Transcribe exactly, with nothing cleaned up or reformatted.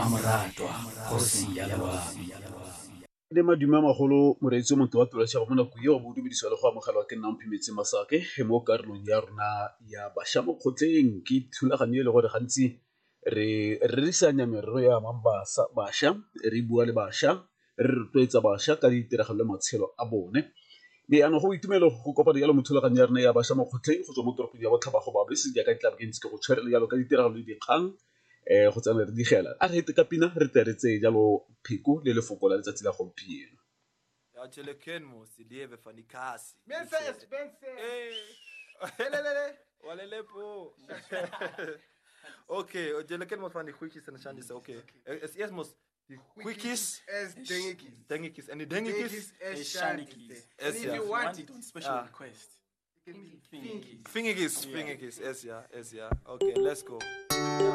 Mmamoratwa kgosi ya loabi. Le madume a magolo moreetsi o motho wa tolosego mo nako eo bo dumedisiwa le go amogelwa ke nna Mphimetse Masake mo karolong ya rona ya bašwa mo kgotleng. Ke thulaganyo e le gore gantsi re rerisanya merero ya amang bašwa, re bua le bašwa, re rotloetsa bašwa ka ditiragalo le matshelo a bone. Mme jaanong go itumelo go kopana jalo mo thulaganyo ya rona ya bašwa mo kgotleng go tswa mo toropong ya Botlhaba go Babese jaaka di tlabe ke ntse ke go tshwere jalo ka ditiragalo le dikgang um go tsena re digela. A re hete ka pina re tle re tseye jalo pheko le lefoko la letsatsi la gompieno. Ja, Tšheleken mos, lieve van die kasi. Mense is mense. Hey. Lelelele. Walelepo. Okay, Tšheleken mos van die goedjies en de shandjes. Okay. Es eers mos die goedjies is dingetjies. Dingetjies en die dingetjies is Is shandjies. shandjies. And Is if ja. you want it on special Ah. request. it can be fingies. Fingetjies, Yeah. fingetjies, is ja, is ja. Okay, let's go. Ja,